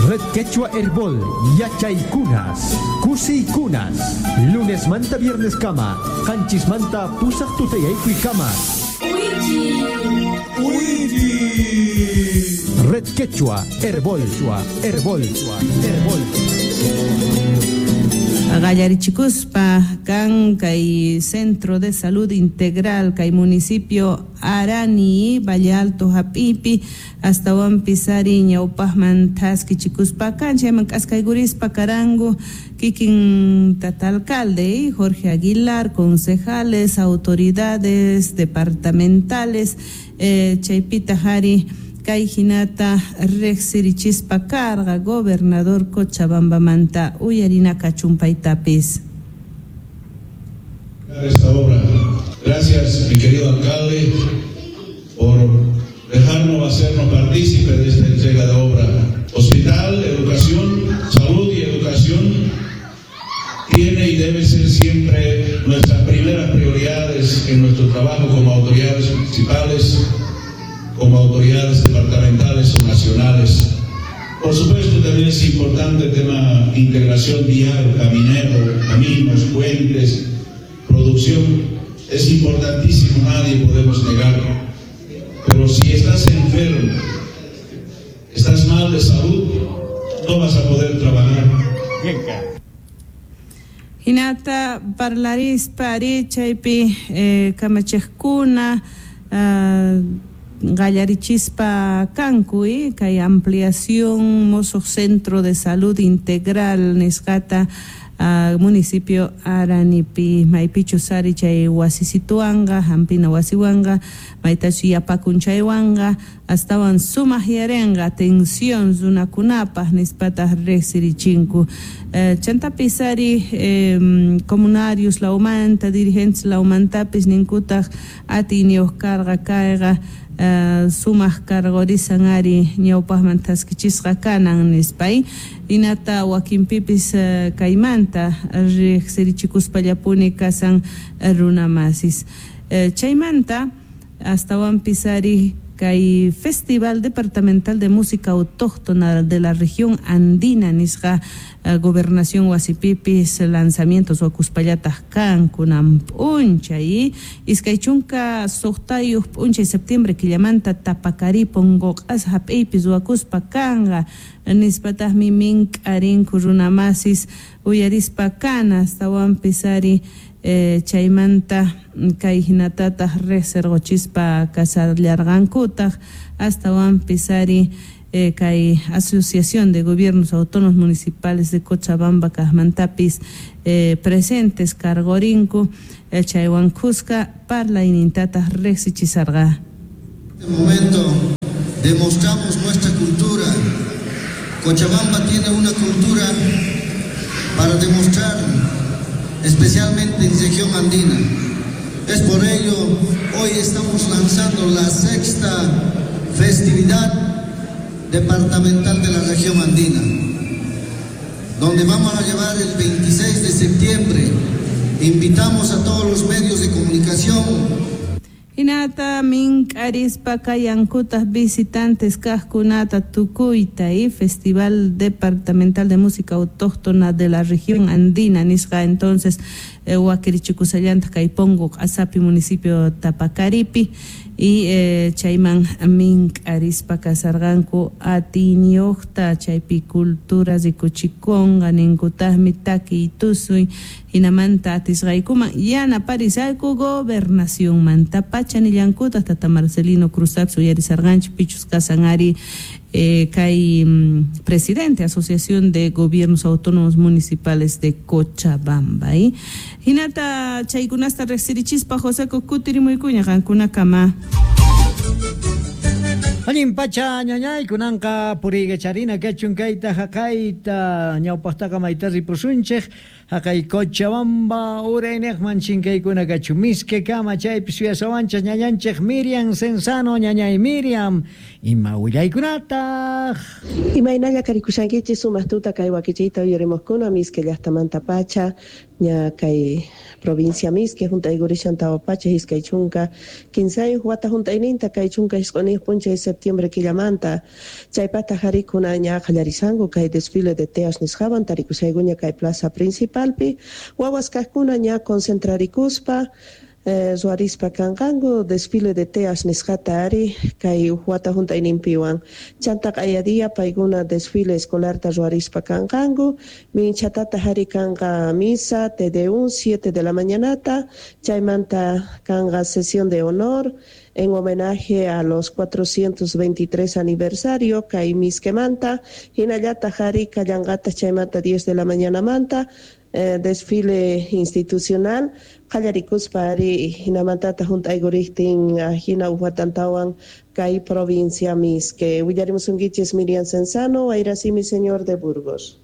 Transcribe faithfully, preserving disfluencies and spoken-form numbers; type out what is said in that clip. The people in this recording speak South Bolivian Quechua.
Red Quechua Herbol, Yachaykunas, Kusiykunas, lunes manta viernes kama, qanchis manta pusaq tutayaykuy kama. Red Quechua Herbol, Herbol, Herbol. Gallarichikuspa kan kay Centro de Salud Integral kay municipio Arani, Valle Alto hap'ipi astawanpis ari ñawpaqman thaskichikuspa kan chayman k'askaykurispa karanku kikin tata alcalde Jorge Aguilar, concejales, autoridades departamentales, eh, chaypitaq ari kay hinata riqsirichispa karqa gobernador Cochabambamanta uyarinaka chumpaytapis. Esta obra. Gracias, mi querido alcalde, por dejarnos hacernos partícipe de esta entrega de obra. Hospital, educación, salud y educación tiene y debe ser siempre nuestras primeras prioridades en nuestro trabajo como autoridades municipales, como autoridades departamentales o nacionales. Por supuesto, también es importante el tema integración vial, caminero, caminos, puentes, producción. Es importantísimo, nadie podemos negarlo. Pero si estás enfermo, estás mal de salud, no vas a poder trabajar. Hinata parlarispa ari chaypi eh, kamachiqkuna uh, gallarichispa kanku kay ampliación mozo centro de salud integral nisqata uh, municipio Aranipi maypichus ari chay wasisituanqa hampina wasiwanqa maytachu yapakun chaywanqa astawan sumaq yarenqa atención runakunapaq nispataq riqsirichinku. Eh, chantapis ari eh, comunarios lawmanta dirigentes lawmantapis ninkutaq atiyniyuq karqa kayqa Uh, sumaq karqurisan ari ñawpaqman thaskichisqa kanan nispay hinata wakinpipis uh, kaymanta riqsirichikuspallapuni kasan runamasis. Uh, chaymanta astawanpis ari kay Festival Departamental de Música Autóctona de la Región Andina nisqa uh, gobernación wasipipis lanzamientos wakuspallataq kan kunan p'unchay iskay chunka suqtayuq p'unchay septiembre killamanta Tapacarí Pongoq'as hap'iypis wakuspa kanqa nispataqmi mink'arinku runamasis uyarispa kana astawanpis ari Eh, chaymanta kay hinatataq riqsirquchispa kasallarqankutaq astawanpis ari eh, kay Asociación de Gobiernos Autónomos Municipales de Cochabamba kaqmantapis eh, presentes karqurinku eh, chaywan kuska parlaynintataq riqsichisarqa. En este momento demostramos nuestra cultura. Cochabamba tiene una cultura para demostrar, especialmente en región andina. Es por ello, hoy estamos lanzando la sexta festividad departamental de la región andina, donde vamos a llevar el veintiséis de septiembre. Invitamos a todos los medios de comunicación. Hinata mink'arispa kayankutaq visitantes kaqkunata tukuyta y Festival Departamental de Música Autóctona de la Región Andina nisqa entonces eh, wakirichikusallantaq kay Pongo Q'asapi municipio Tapacaripi y eh, chayman mink'arispa kasarqanku atiyniyuqta chaypi cultura rikuchikunqa ninkutaqmi takiy tusuy hinamanta atisqaykuman yanaparisayku gobernacionmanta pacha nillankutaq tata Marcelino Cruzapis uyarisarqanchik pichus kasan ari eh, kay mm, presidente Asociación de Gobiernos Autónomos Municipales de Cochabamba. ¿Eh? Hinata chaykunasta riqsirichispa José kutirimuykuña qankunakama. Allin pacha ñañay kunanqa puriykacharina kachun kayta haqayta ñawpaqtaqa mayta ripusunchik haqay Cochabamba urayniqman chinkaykuna kachun miske kama chaypi suyasawanchik ñañanchik Miriam Cenzano. Ñañay Miriam, ima willaykunataq? Imaynalla karikushankichik sumaq tuta kay wakichiyta uyarimuqkuna miske llaqtamanta pacha. Ña kay provincia Misque hunt'aykurishan tawa pacha iskay chunka kinsayuq wata hunt'ayninta kay chunka isq'uniyuq p'unchay septiembre killamanta. Chaypata harikuna ña qallarisanku kay desfile de teas nisqawan tarikushaykuña kay plaza principalpi. Wawas kaqkuna ña concentrarikuspa eh, ruwarispa kanqanku desfile de teas nisqata ari kay wata hunt'ayninpiwan. Chanta q'ayadia paykuna desfile escolarta ruwarispa kanqanku. Minchatata hari kanqa misa Te Deum siete de la mañanata, chaymanta kanqa sesión de honor en homenaje a los cuatrocientos veintitrés aniversario kay Misquemanta, hinallata hari kallanqata chaymanta diez de la mañana manta eh, desfile institucional qallarikuspa ari hinamantata hunt'aykuriktin hina uqwatantawan kay provincia Misque. Willarimusunkichis Miriam Cenzano, Wayrasimi señor de Burgos.